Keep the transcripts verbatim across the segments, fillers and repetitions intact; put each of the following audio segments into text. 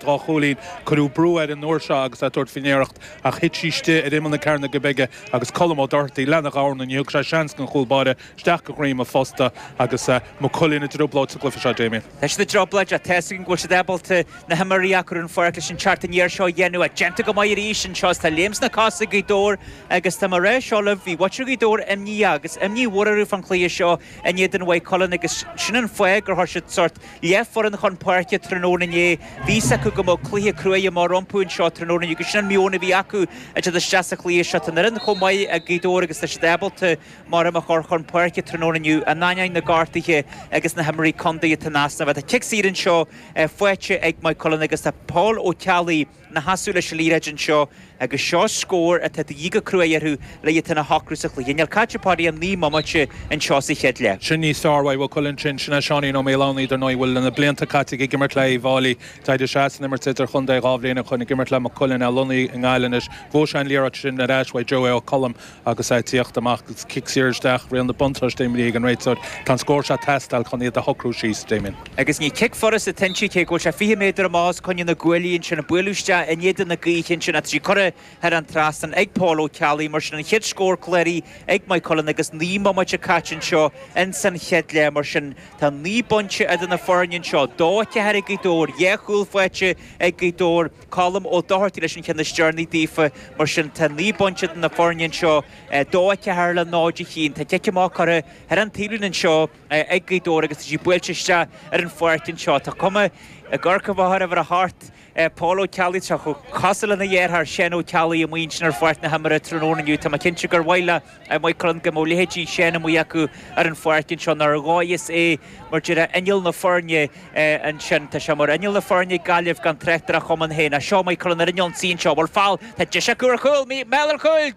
dhá chúilín. Cuireadh brú air an uair seo agus é ag tabhairt faoin iarracht ach thit sí istigh ar imeall na cearnóige bige agus Colm Ó Dochartaigh lena dhorn, ní thug sé seans don chúl báire isteach go dhroim an phosta agus Maigh Cuilinn i dtrioblóid sa gcluiche seo, Damien. Tá siad i dtrioblóid ach tá a fhios againn go bhfuil siad ábalta na himreoirí a chur ar an pháirc leis an teacht aniar seo a dhéanamh ach déanta go maith arís anseo is tá léim sna cosa ag Gaoth Dobhair agus tá mé ag rá seo libh, bhí muintir Ghaoth Dobhair imníoch agus imní mhór orthu fán chluiche seo in éadan Mhaigh Cuilinn agus sin an fáth gur chuir siad sórt leathfhoireann chun páirce tráthnóna inné. Bhí fhios acu go mbeadh cluiche cruaidh amach rompu anseo tráthnóna inniu agus sin an meon a bhí acu ag teacht isteach sa chluiche seo. Tá an fhoireann chomh maith ag Gaoth Dobhair agus tá siad ábalta maram a chur chun páirce tráthnóna inniu in ainneoin na ngortuithe agus na himreoirí contae atá in easnamh. Tá cic saor anseo faighte ag Maigh Cuilinn agus tá Paul Ó Ceallaigh ina sheasamh leis an liathróid anseo agus seo scór atá de dhíth go cruaidh orthu le iad féin a shocrú sa chluiche. Níl caite Paddy ach naoi mbomaite anseo sa chéad leath. Sin níos fearr uaidh Mhaigh Cuilinn sin. Sin é Seáinín Ó Maoileanna, dar ndóigh, a bhfuil na blianta caite aige ag imirt le Uíbh Fhailí. D'éirigh sé as an imirt idirchontae dhá bhliain ó shoin ag imirt le Maigh Cuilinn, é lonnaithe i nGaillimh anois. Bhuaigh sé an liathróid sin ar ais uaidh Joey Ó Colm agus é ag tíocht amach agus cic saor isteach, riail na buntáiste imrithe ag an réiteoir. Tá an scór seo ag teastáil chun iad a shocrú síos, Damien. Agus ní cic furast atá inti, cé go bhfuil sé fiche méadar amach os coinne na gcuaillí ansin, ag bualadh isteach in éadan na gaoithe ansin, tá sí curtha thar an trasnán ag Paul Ó Ceallaigh. Mar sin, an chéad scór cláraithe ag Maigh Cuilinn agus naoi mbomaite caite anseo ins an chéad leath. Mar sin, tá naoi bpointe idir na foirne anseo, dó a ceathair ag Gaoth Dobhair, dhá chúl faighte ag Gaoth Dobhair, Colm Ó Dochartaigh leis an cheann is deireanaí daofa. Mar sin, tá naoi bpointe idir na foirne anseo, dó a ceathair le náid a haon. Tá cic amach curtha thar an taobhlíne anseo ag Gaoth Dobhair agus tá sí buailte isteach ar an pháirc anseo. Tá cuma i gCorca Mhachaire Uimhir a hocht, Paul Ó Ceallaigh, tá chomh cosúil lena dheartháir Seán Ó Ceallaigh amuigh ansin ar pháirc na himeartha tráthnóna inniu. Tá mé cinnte gur mhaith le Maigh Cuilinn go mbeadh leithéidí Seán amuigh acu ar an pháirc anseo ar dhóigh is é mar déarfá inneall na foirne ansin. Tá sé mar inneall na foirne ag Gaillimh gan trácht ar a chumann féin. Ach seo Maigh Cuilinn ar an ionsaí anseo. Bhfuil feall? Tá deis acu ar chúl! Mall ar chúl!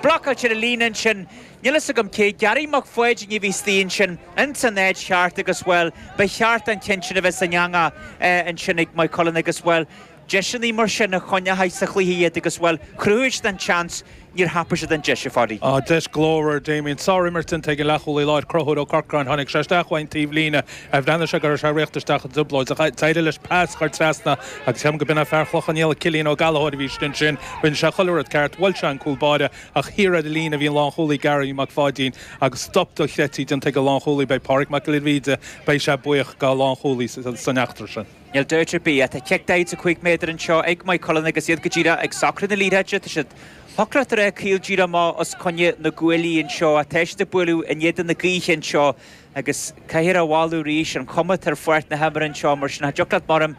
Blocáilte ar an líne ansin. Níl fhios agam cé, Gary Mac Pháidín a bhí istigh ansin ins an áit cheart agus, bhuel, ba cheart an ceann sin a bheith san eangach ansin ag Maigh Cuilinn agus, bhuel, deiseanna mar sin a choinneoidh sa chluiche iad agus, bhuel, chruthaigh siad an tseans, níor thapaigh siad an deis, a Pháidí. Á, deis glórmhar, Damien. Sár-imirt déanta ag an leathchúlaí láir, Conchúr Ó Corcráin. Tháinig sé isteach uaidh an taobh líne. Bhreathnaigh sé go raibh sé ag rith isteach i dtrioblóid ach d'éirigh leis pas a chur trasna agus ceapaim go b'in é fear Chlochán Liath, Cillian Ó Gallchóir a bhí istigh ansin. Rinne sé chuile rud ceart, bhuail sé an cúl báire ach thiar ar an líne a bhí an lánchúlaí Gary Mac Pháidín agus stop dochreidte déanta ag an lánchúlaí. Beidh Pádraig Mac Giolla Bhríde, beidh sé buíoch dá lánchúlaí san eachtra sin. Níl dabht ar bith. Tá cic daichead is a cúig méadar anseo ag Maigh Cuilinn agus iad go díreach ag socrú na liathróide. Tá siad thiocfadh leat a rá caol díreach amach os coinne na gcuaillí anseo. Tá siad ag bualadh in éadan na gaoithe anseo agus caithfear a mholadh arís an chuma atá ar pháirc na himeartha anseo mar sin. Cha dtiocfadh leat maram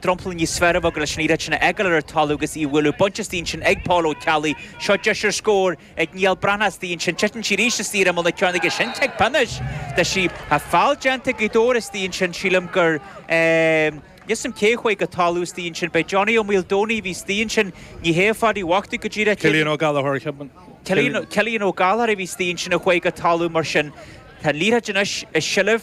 dromchla níos fearr a bheith agat leis an liathróid sin a fhágáil ar an talamh agus í a bhualadh. Bainte istigh ansin ag Paul Ó Ceallaigh. Seo deis ar scór ag Niall Breathnach istigh ansin. Titeann sí arís istigh ar imeall na cearnóige. Sin cic pionóis. Tá sí. Tá feall déanta ag Gaoth Dobhair istigh ansin. Sílim gur. Níl 'fhios a'm cé chuaigh go talamh istigh ansin. B'é Johnny Ó Maoldomhnaigh a bhí istigh ansin. Ní hé a Phadaí Mhac go díreach. Cillian Ó Gallchóir, cheapfainn. Cillian Ó Gallchóir a bhí istigh ansin a chuaigh go talamh mar sin. Tá an liathróid anois i seilbh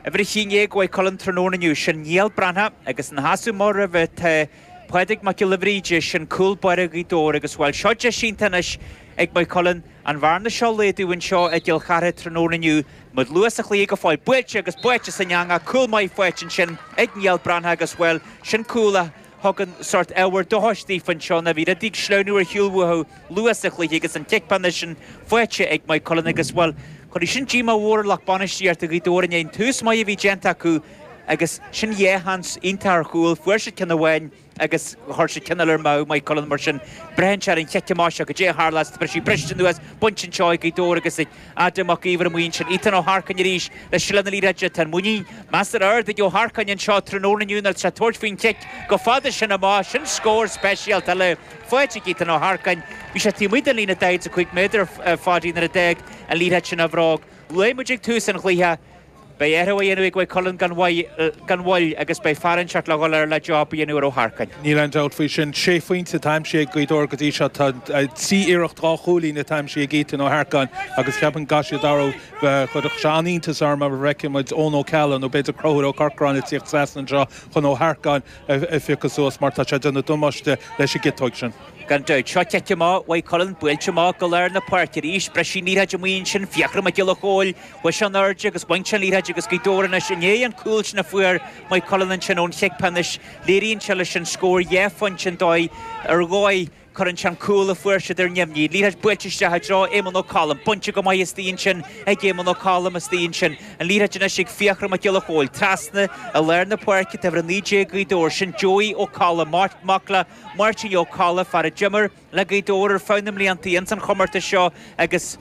uimhir a haon déag Mhaigh Cuilinn tráthnóna inniu. Sin Niall Breathnach agus ina sheasamh amach roimhe tá Pádraig Mac Giolla Bhríde, sin cúl báire Ghaoth Dobhair agus bhuel seo deis iontach anois ag Maigh Cuilinn an bhearna seo a laghdú anseo i gCill Chartha tráthnóna inniu. Muid luath sa chluiche go fóill. Buailte agus buailte san eangach, cúl maith faighte ansin ag Niall Breathnach agus bhuel sin cúl a thugann sórt ábhar dóchais daofa anseo ná bhí rudaí ag sleamhnú ar shiúl uathu luath sa chluiche agus an cic pionóis sin faighte ag Maigh Cuilinn agus bhuel cuirfidh sin díomá mhór ar lucht bainistíochta Ghaoth Dobhair i ndiaidh an tús maith a bhí déanta acu agus sin dhá sheans iontach ar chúl, fuair siad ceann amháin agus chuir siad ceann eile ar meadh, Maigh Cuilinn mar sin braitheann sé ar an chic amach seo goidé a tharlós, tá sí briste anuas, bainte anseo ag Gaoth Dobhair agus ag Adam Mac Íomhair amuigh ansin, Ethan Ó hEarcáin arís le seilbh na liathróide, tá an muinín measartha ard ag Ó hEarcáin anseo tráthnóna inniu nuair atá sé ag tabhairt faoin chic go fada sin amach, sin scór speisialta eile faighte ag Ethan Ó hEarcáin, bhí sé taobh amuigh den líne daichead is a cúig méadar a Pháidí nuair a d'fhág an liathróid sin a bhróg. Luaigh muid ag tús an chluiche. Beidh athrú á dhéanamh ag Maigh Cuilinn gan gan mhoill agus beidh fear inteacht le dhul air le job a dhéanamh ar Ó hEarcáin. Níl aon dabht faoi sin. Sé phointe atá aimsithe ag Gaoth Dobhair go dtí seo. Tá trí iarracht dhá chúilín atá aimsithe ag Ethan Ó hEarcáin agus cheapfainn go gcaithfidh siad athrú. Chuirfeadh sé an-iontas orm má fheiceann muid Eoin Ó Ceallaigh nó b'fhéidir Conchúr Ó Corcráin ag tíocht trasna anseo chun Ó hEarcáin a phiocadh suas mar tá sé ag déanamh damáiste leis an gciotóig sin. Gan dabht, seo cic amach Mhaigh Cuilinn, buailte amach go lár na páirce arís. Briseadh an liathróid amuigh ansin, Fiachra Mac Giolla Chóill, chuaigh sé in airde agus bhain sé an liathróid agus Gaoth Dobhair anois i ndiaidh an cúl sin a fuair Maigh Cuilinn ansin ón chic pionóis. Léiríonn sé leis an scór dhá phointe an dóigh ar dhóigh cuireann sé an cúl a fuair siad ar neamhní. Liathróid buailte isteach i dtreo Éamonn Ó Colm. Bainte go maith istigh ansin ag Éamonn Ó Colm istigh ansin. An liathróid anois ag Fiachra Mac Giolla Chóill. Trasna i lár na páirce tá uimhir a naoi déag Gaoth Dobhair. Sin Joey Ó Colla, mac le Máirtín Ó Colla, fear a d'imir le Gaoth Dobhair ar feadh na mblianta ins an chomórtas seo agus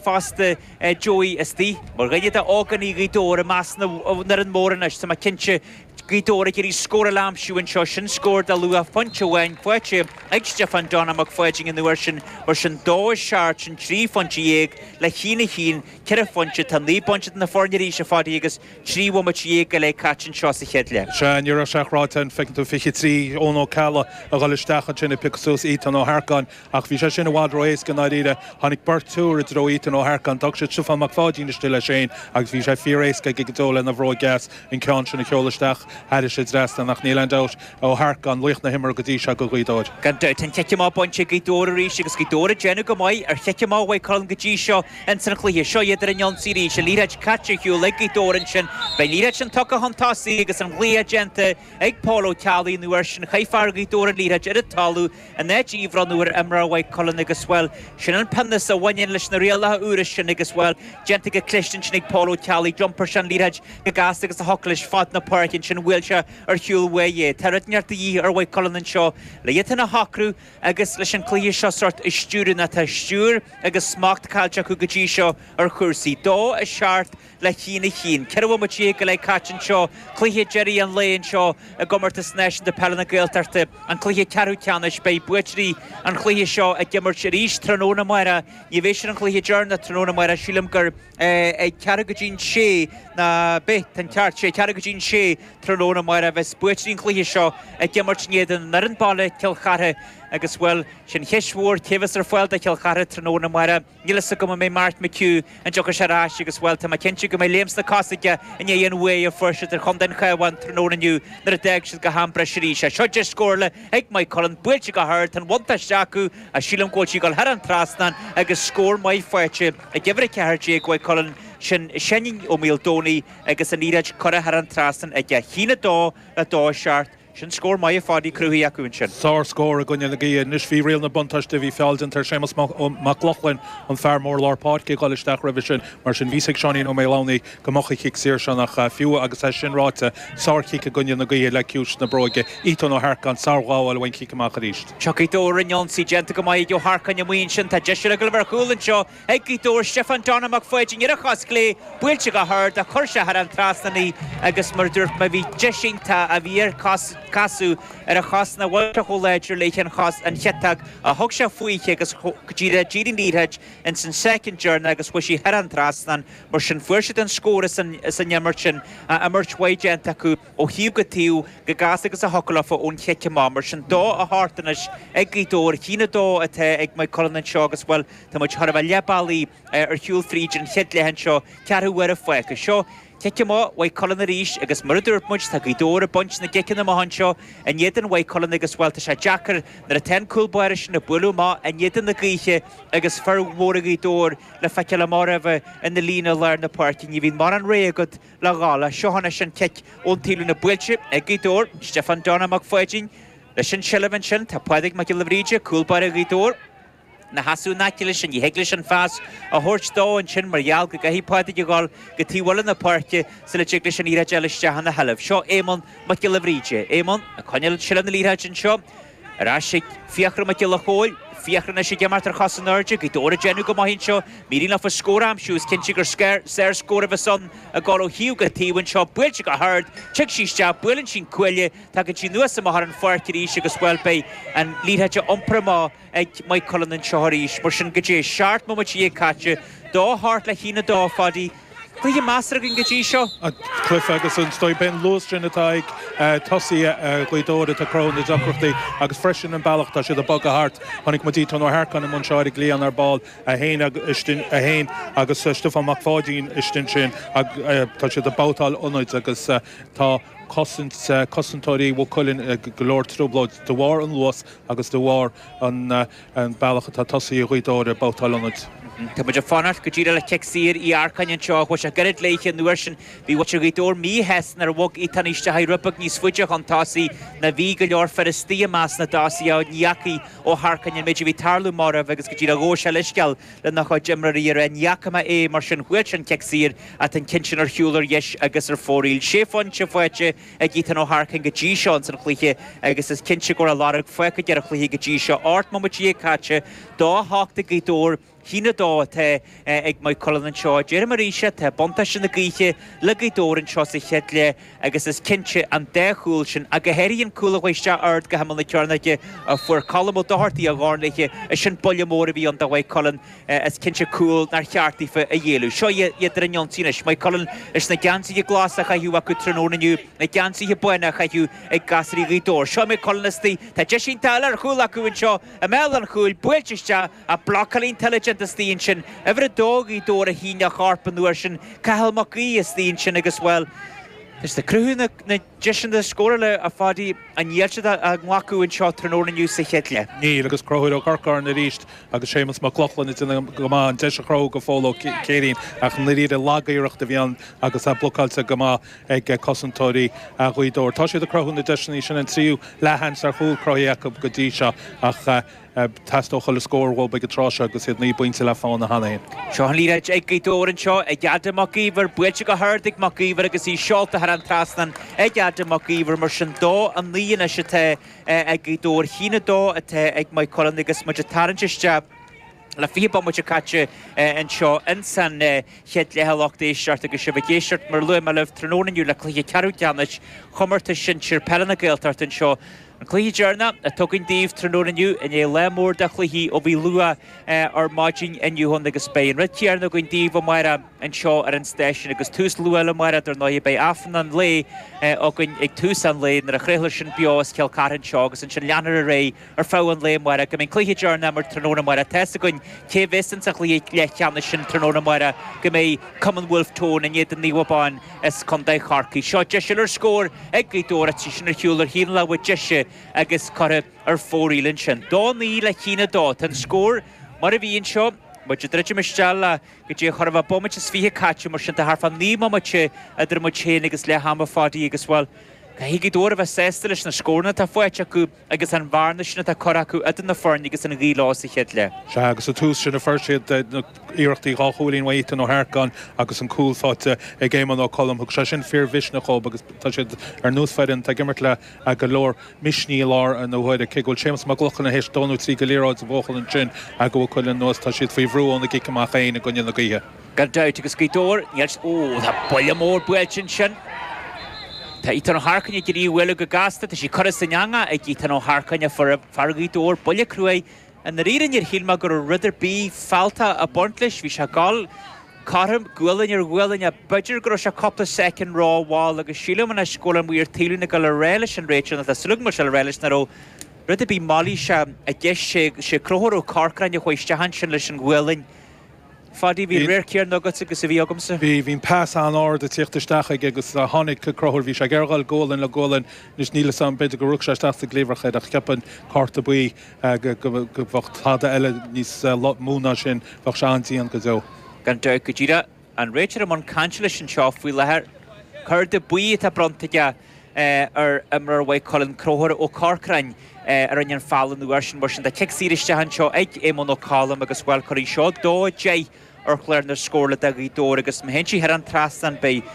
fosta Joey istigh mar dhuine de ógánaigh Ghaoth Dobhair i measc na bhfoireann mór anois. Tá mé cinnte Gaoth Dobhair ag iarraidh scór a aimsiú anseo, sin scór de luach pointe amháin faighte ag Stiofán Donagh Mac Pháidín an uair sin, mar sin dó a seacht, sin trí phointe dhéag le haon a haon, ceithre phointe, tá naoi bpointe idir na foirne arís a Phadaí agus trí bhomaite dhéag go leith caite anseo sa chéad leath. Sea, ní raibh sé ráite an bhfeiceann tú fiche trí Eoin Ó Ceallaigh a dhul isteach ansin ag piocadh suas Ethan Ó hEarcáin ach bhí sé sin i bhfad ró-éasca i ndáiríre. Tháinig beirt úr i dtreo Ethan Ó hEarcáin, d'fhág siad Stiofán Mac Pháidín istigh leis féin agus bhí sé fíor-éasca aige go deo lena bhróig dheas an ceann sin a sheoladh isteach thairis an dtrasnán ach níl aon dabht Ó hEarcáin laoch na himeartha go dtí seo do Ghaoth Dobhair. Gan dabht, an chic amach bainte ag Gaoth Dobhair arís agus Gaoth Dobhair ag déanamh go maith ar chic amach Mhaigh Cuilinn go dtí seo ins an chluiche. Seo iad ar an ionsaí arís, an liathróid caite ar shiúl ag Gaoth Dobhair ansin. Beidh an liathróid sin tugtha chun tosaigh agus an ghlaoch déanta ag Pól Ó Ceallaigh an uair sin. Chaith fear Ghaoth Dobhair an liathróid ar an talamh in áit í a bhronnadh ar imreoir Mhaigh Cuilinn agus, bhuel, sin an pionós a bhaineann leis na rialacha úra sin agus, bhuel, déanta go cliste ansin ag Pól Ó Ceallaigh. D'iompair sé an liathróid go gasta agus a thiocfadh leis fad na páirce ansin bhuail sé ar shiúl uaidh é. Tá rud inteacht de dhíth ar Mhaigh Cuilinn anseo le iad féin a shocrú agus leis an cluiche seo sórt a stiúradh nó tá stiúir agus smacht caillte acu go dtí seo ar chúrsaí. Dó a seacht le haon a haon. Ceithre bhomaite déag go leith caite anseo. Cluiche deiridh an lae anseo i gComórtas Náisiúnta Peile na Gaeltachta, an cluiche ceathrú ceannais. Beidh buaiteoirí an chluiche seo ag imirt arís tráthnóna amárach. Ní bheidh sin an cluiche deireanach tráthnóna amárach. Sílim gur ag ceathrú go dtí'n sé ná beidh, tá an ceart, sé ceathrú go dtí'n sé tráthnóna amárach a bheas buaiteoirí an chluiche seo ag imirt in éadan an fhoireann baile, Cill Chartha. Agus, bhuel, sin cheist mhór, cé bheas ar fáil do Chill Chartha tráthnóna amárach? Níl fhios agam an mbeidh Mark McHugh, an dtiocfaidh sé ar ais agus, bhuel, tá mé cinnte go mbeidh léim sna cosa aige i ndiaidh an bhuaidh a fuair siad ar Chontae an Chabháin tráthnóna inniu nuair a d'fhág siad go ham breise arís é. Seo deis scórála ag Maigh Cuilinn, buailte go hard, tá an bhuntáiste acu ach sílim go bhfuil sí ag dul thar an trasnán agus scór maith faighte ag uimhir a ceathair déag Mhaigh Cuilinn, sin Seáinín Ó Maoldomhnaigh agus an liathróid curtha thar an trasnán aige. A haon a dó le dó a seacht. Sin scór maith a Phadaí cruthaithe acu ansin. Sár-scór i gcoinne na gaoithe. Anois bhí riail na buntáiste, bhí feall déanta ar Séamus Mac Lochlainn, an fear mór lár páirce, ag dul isteach roimhe sin. Mar sin bhí fhios ag Seáinín Ó Maoldomhnaigh go mbeadh an chic saor sin ach fiú agus é sin ráite, sár-chic i gcoinne na gaoithe le ciumhais na bróige. Ethan Ó hEarcáin, sár-ghabháil ón chic amach arís. Tiocfaidh Gaoth Dobhair ar an ionsaí, déanta go maith ag Ó hEarcáin amuigh ansin. Tá deis eile ag dul ar chúl anseo ag Gaoth Dobhair. Stiofán Donagh Mac Pháidín ar a chos chlé, buailte go hard ach chuir sé thar an trasnán í agus mar a dúirt mé bhí deis iontach a bhí air casadh ar a chos nach bhfuil sé chomh láidir léi an chos an chiotach a thug sé fúithi agus go díreach d'éirigh an liathróid ins an soicind deireanach agus chuaigh sí thar an trasnán. Mar sin fuair siad an scór as an imirt sin, imirt mhaith déanta acu ó thaobh go taobh go gasta agus a thiocfadh leofa ón chic amach. Mar sin dó a hocht anois ag Gaoth Dobhair, a haon a dó atá ag Maigh Cuilinn anseo agus bhuel tá muid chóir a bheith leath bealaigh ar shiúl fríd an chéad leath anseo, ceathrú uaire fágtha. Seo cic amach Mhaigh Cuilinn arís agus mar a dúirt muid, tá Gaoth Dobhair ag baint na gciceanna amach anseo in éadan Mhaigh Cuilinn agus, bhuel, tá sé deacair nuair atá an cúl báire sin ag bualadh amach in éadan na gaoithe agus fir mhóra Ghaoth Dobhair le feiceáil amach roimhe ina líne i lár na páirce. Ní bhíonn mórán rogha agat le dhul. Seo anois an cic ón taobhlíne buailte ag Gaoth Dobhair, Stiofán Donagh Mac Pháidín leis an tseilbh ansin. Tá Pádraig Mac Giolla Bhríde, cúl báire Ghaoth Dobhair, ina sheasamh in aice leis, ní thig leis an phas a thabhairt dó ansin mar gheall go gcaithfidh Pádraig a dhul go taobh eile na páirce sula dtig leis an liathróid a fháil isteach ina sheilbh. Seo Éamonn Mac Giolla Bhríde. Éamonn ag coinneáil seilbh na liathróide anseo. Ar ais ag Fiachra Mac Giolla Chóill. Fiachra anois ag imeacht ar chos in airde. Gaoth Dobhair ag déanamh go maith anseo. Má éiríonn leofa scór a aimsiú. Is cinnte gur sár-scór a bheas ann ag dul ó thaobh go taobh anseo. Buailte go hard. Tig sí isteach. Buaileann sí an cuaille. Tagann sí anuas amach ar an pháirc arís agus, bhuel, beidh an liathróid á iompar amach ag Maigh Cuilinn anseo arís. Mar sin, goidé, seacht mbomaite dhéag caite, dó a hocht le haon a dó, a Phadaí. Cluiche measartha againn go dtí seo. An cluiche agus an dóigh, b'é an luas sin atá ag tosaithe Ghaoth Dobhair atá ag cruthú na deacrachtaí agus freisin an bealach atá siad ag bogadh thart. Chonaic muid Ethan Ó hEarcáin i mbun seo ar an gcliathán ar ball, é féin é féin agus Stiofán Mac Pháidín istigh ansin. Tá siad ag babhtáil ionaid agus tá. cosaint cosantóirí Mhaigh Cuilinn go leor trioblóid de bharr an luas agus de bharr an an bealach atá tosaithe Ghaoth Dobhair ag babhtáil ionaid. Tá muid ag fanacht go díreach le cic saor Uí Earcáin anseo chuaigh sé gairid léithe an uair sin bhí muintir Ghaoth Dobhair míshásta nuair a bhog Ethan isteach rud beag níos faide chun tosaigh ná bhí go leor fir istigh i measc na dtosaithe ní fhacaidh Ó hEarcáin an méid a bhí ag tarlú marbh agus go díreach ghabh sé leithscéal lena chuid imreoirí ar ní fhaca mé é mar sin bhuail sé an cic saor ach an ceann sin ar shiúl ar dheis agus ar fóraoil. Sé phointe faighte ag Ethan Ó hEarcáin go dtí seo ins an chluiche agus is cinnte go raibh a lorg fágtha aige ar an chluiche go dtí seo. Ocht mbomaite déag caite dó a hocht ag Gaoth Dobhair a haon a dó atá ag Maigh Cuilinn anseo. Deirim arís é, tá buntáiste na gaoithe le Gaoth Dobhair anseo sa chéad leath agus is cinnte an dá chúl sin, ach go háirithe an cúl a chuaigh isteach ard go himeall na cearnóige a fuair Colm Ó Dochartaigh a dhorn léithe, is sin buille mór a bhí ann do Mhaigh Cuilinn. Is cinnte cúl nár cheart daofa a ghéilleadh. Seo iad ar an ionsaí anois. Maigh Cuilinn leis na geansaithe glasa a chaitheamh acu tráthnóna inniu, na geansaithe bána a chaitheamh ag gasraí Ghaoth Dobhair. Seo Maigh Cuilinn istigh. Tá deis iontach eile ar chúl acu anseo i mbéal an chúil, buailte isteach ach blocáil iontach eile déanta istigh ansin. Uimhir a dó Ghaoth Dobhair a shín a chorp an uair sin. Cathal Mac Aoidh istigh ansin agus, bhuel, tá siad ag cruthú na deiseanna scórála a Phadaí ach níl siad á nglacadh anseo tráthnóna inniu sa chéad leath. Níl agus Conchúr Ó Corcáin arís agus Séamus Mac Lochlainn ag déanamh go maith an deis a chruthú go Phól Ó Céirín ach i ndáiríre lagiarracht a bhí ann agus é blocáilte go maith ag cosantóirí Ghaoth Dobhair. Tá siad ag cruthú na deiseanna sin an tríú leathsheans ar chúl cruthaithe acu go dtí seo ach Teastódh chuile scór uathu ag an tráth seo agus iad naoi bpointe le fána cheana féin. Seo an liathróid ag Gaoth Dobhair anseo ag Adam Mac Íomhair, buailte go hard ag Mac Íomhair agus í seolta thar an trasnán ag Adam Mac Íomhair. Mar sin dó a naoi anois atá ag Gaoth Dobhair, a haon a dó atá ag Maigh Cuilinn agus muid ag tarraingt isteach le fiche bomaite caite anseo ins an chéad leath a lucht éisteachta agus sibh ag éisteacht mar a luaigh mé libh tráthnóna inniu le cluiche ceathrú ceannais Chomórtas Sinsir Peile na Gaeltachta anseo An cluiche deireanach atá againn daoibh tráthnóna inniu i ndiaidh lá mór de chluichí ó bhí luath ar maidin inniu ann agus beidh an rud céanna againn daoibh amárach anseo ar an stáisiún agus tús luath eile amárach dar ndóigh beidh Aifreann an lae againn ag tús an lae nuair a chraolfar sin beo as Cill Chartha anseo agus ansin leanfar ar aghaidh ar feadh an lae amárach go mbeidh an cluiche deireanach mar tráthnóna amárach. Tá's againn cé bheas ins an chluiche leathcheannais sin tráthnóna amárach go mbeidh Cumann Wolfe Tone in éadan Naomh Abán as Contae Chorcaí. Seo deis eile ar scór ag Gaoth Dobhair ach tá sin ar shiúl ar thaobh na láimhe deise agus curtha ar fóraoil ansin. Dó naoi le haon a dó. Tá an scór mar a bhí anseo. Muid ag druidim isteach le go dtí chor a bheith bomaite is fiche caite mar sin tá thart fá naoi mbomaite idir muid féin agus leath ama Phadaí agus, bhuel, caithfidh Gaoth Dobhair a bheith sásta leis na scóranna atá faighte acu agus an bhearna sin atá curtha acu idir na foirne agus an ghaoth leo sa chéad leath. Sea, agus an tús sin a fuair siad na iarrachtaí dhá chúilín uaidh Ethan Ó hEarcáin agus an cúl faighte ag Éamonn Ó Colm. Thug sé sin fíormhisneach dhóibh agus tá siad ar nós foireann atá ag imirt le go leor misnigh i láthair na huaire. Cé go bhfuil Séamus Mac Lochlainn théis dó nó trí de liathróid a bhuachan ansin do Mhaigh Cuilinn anuas, tá siad faoi bhrú óna gcic amach féin i gcoinne na gaoithe. Gan dabht agus Gaoth Dobhair, níl, ó, tá buille mór buailte ansin. Tá Ethan Ó hEarcáin ag iarraidh í a bhualadh go gasta, tá sí curtha san eangach ag Ethan Ó hEarcáin, a fuair fear Ghaoth Dobhair buille cruaidh. I ndáiríre níor shíl mé go raibh rud ar bith fealltach ag baint leis, bhí sé ag dul cothrom, gualainn ar ghualainn, ach b'fhéidir go raibh sé cúpla soicind rómhall agus sílim anois go bhfuil an maor taoileann ag dul a rá leis an réiteoir, nó tá súil agam go bhfuil sé le rá leis nach raibh rud ar bith mailíseach i gceist, sé Conchúr Ó Corcráin a chuaigh isteach ansin leis an ghualainn. Phadaí, bhí an radharc céanna agatsa agus a bhí agamsa. Bhí, bhí an pas an-ard ag tíocht isteach aige agus tháinig Conchúr, bhí sé ag iarraidh dhul gualainn le gualainn, anois níl 'fhios a'm, b'fhéidir gur rug sé isteach sa gcliabhrach é ach cheapfainn cárta buí go, go, go bheadh tada eile níos mó ná sin, bheadh sé an-dian go deo. Gan dabht, go díreach an réiteoir i mbun cainte leis anseo faoi láthair. Cárta buí atá bronnta aige ar imreoir Mhaigh Cuilinn, Conchúr Ó Corcráin, a rinne an feall an uair sin. Mar sin tá cic saor isteach anseo ag Éamonn Ó Colm agus bhuel cuirfidh seo dó a deich ar chlár na scórála do Ghaoth Dobhair agus má théann sí thar an trasnán beidh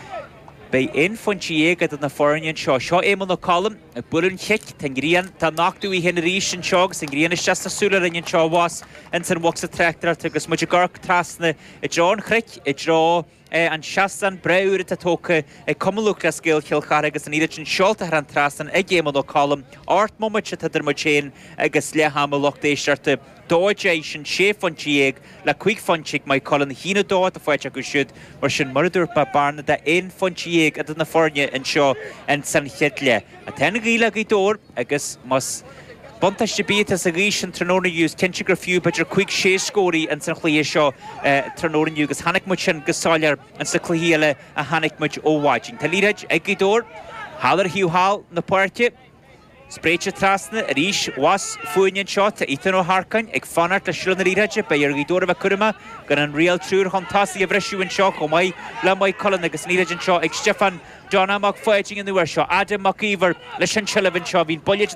beidh aon phointe dhéag idir na foirne anseo. Seo Éamonn Ó Colm ag bualadh an chic, tá an ghrian, tá nochtadh í féin arís anseo agus an ghrian isteach sna súile orainn anseo abhus ins an bhocsa tráchtaireachta agus muid ag amharc trasna i dtreo an chnoic, i dtreo an seastán breá úr atá tógtha ag Cumann Lúthchleas Gael Chill Chartha agus an iarraidh sin seolta thar an trasnán ag Éamonn Ó Colm. Ocht mbomaite atá idir muid féin agus leath ama lucht éisteachta. Dó a deich, sin sé phointe dhéag le cúig phointe ag Maigh Cuilinn, a haon a dó atá faighte acu siúd. Mar sin, mar a dúirt mé, bearna de aon phointe dhéag idir na foirne anseo ins an chéad leath. Tá an ghaoth le Gaoth Dobhair agus más buntáiste ar bith atá sa ghaoth sin tráthnóna inniu, is cinnte gur fiú b'fhéidir cúig, sé scór í ins an chluiche seo tráthnóna inniu agus chonaic muid sin go soiléir ins na cluichí eile a chonaic muid ó mhaidin. Tá liathróid ag Gaoth Dobhair Thall ar thaobh thall na páirce. Spréite trasna arís abhus fúinn anseo tá Ethan Ó hEarcáin ag fanacht le seilbh na liathróide beidh ar Ghaoth Dobhair a bheith cúramach gan an riail triúr chun tosaigh a bhriseadh anseo chomh maith le Maigh Cuilinn agus an liathróid anseo ag Stiofán Donna Mac Pháidín an uair seo Adam Mac Íomhair leis an tseilbh anseo bhíonn buille